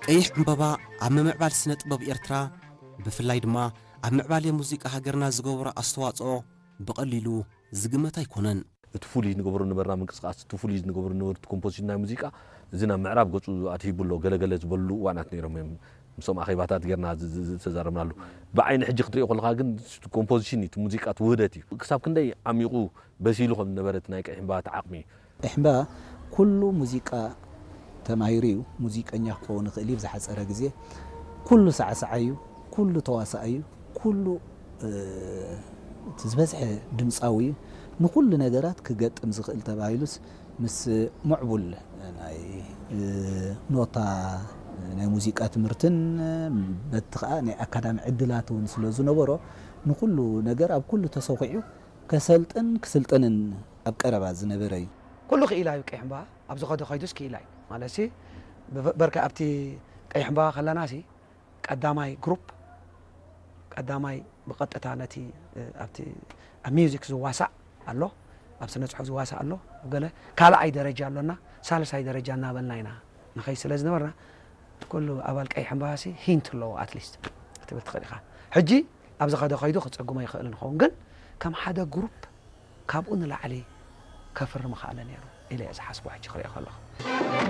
ቀይሕ ዕምበባ ኣብ ምምዕባል ስነ ጥበብ ኤርትራ፣ ብፍላይ ድማ ኣብ ምዕባለ ሙዚቃ ሃገርና ዝገበሮ ኣስተዋጽኦ ብቐሊሉ ዝግመት ኣይኮነን። እቲ ፍሉይ ንገብሮ ነበርና ምንቅስቃስ፣ እቲ ፍሉይ ንገብሮ ነበሩ ኮምፖዚሽን ናይ ሙዚቃ፣ እዚ ናብ ምዕራብ ገጹ ኣትሂቡ ኣሎ። ገለገለ ዝበሉ እዋናት ነይሮም እዮም። ምስኦም ኣኼባታት ጌርና ዝ- ዝ- ዝተዛረብናሉ። ብዓይኒ ሕጂ ክትሪኦ ከለኻ ግን ኮምፖዚሽን እዩ፣ እቲ ሙዚቃ እቲ ውህደት እዩ። ክሳብ ክንደይ ዓሚቑ በሲሉ ከም ዝነበረ እቲ ናይ ቀይሕ ዕምበባ እቲ ዓቕሚ እዩ። እሕምባ ኩሉ ሙዚቃ ተማሂሩ እዩ። ሙዚቀኛ ክኸውን ይኽእል እዩ ብዝሓፀረ ግዜ። ኩሉ ሳዕሳዓይ እዩ፣ ኩሉ ተዋሳኣይ እዩ፣ ኩሉ እቲ ዝበዝሐ ድምፃዊ እዩ። ንኩሉ ነገራት ክገጥም ዝኽእል ተባሂሉስ ምስ ምዕቡል ናይ ኖታ ናይ ሙዚቃ ትምህርትን በቲ ከዓ ናይ ኣካዳሚ ዕድላት እውን ስለ ዝነበሮ ንኩሉ ነገር ኣብ ኩሉ ተሰኺዑ ከሰልጥን ክስልጥንን ኣብ ቀረባ ዝነበረ እዩ። ኩሉ ክኢላ እዩ። ቀይሕ እምባ ኣብ ዝኸዶ ከይዱስ ክኢላ እዩ ማለት ሲ ብበርካ ኣብቲ ቀይሕ እምባ ከለና ሲ ቀዳማይ ግሩፕ ቀዳማይ ብቐጥታ ነቲ ኣብቲ ኣብ ሚውዚክ ዝዋሳእ ኣሎ፣ ኣብ ስነ ጽሑፍ ዝዋሳእ ኣሎ፣ ኣብ ገለ ካልኣይ ደረጃ ኣሎና፣ ሳልሳይ ደረጃ እናበልና ኢና ንኸይ ስለ ዝነበርና ኩሉ ኣባል ቀይሕ እምባ ሲ ሂንት ኣለዎ ኣትሊስት ክትብል ትኽእል ኢኻ። ሕጂ ኣብ ዝኸደ ከይዱ ክጸጉሞ ይኽእል ንኸውን ግን ከም ሓደ ግሩፕ ካብኡ ንላዕሊ ከፍሪ ምኽኣለ ነይሩ ኢለ እየ ዝሓስቦ ሕጂ ክሪኦ ከለኹ።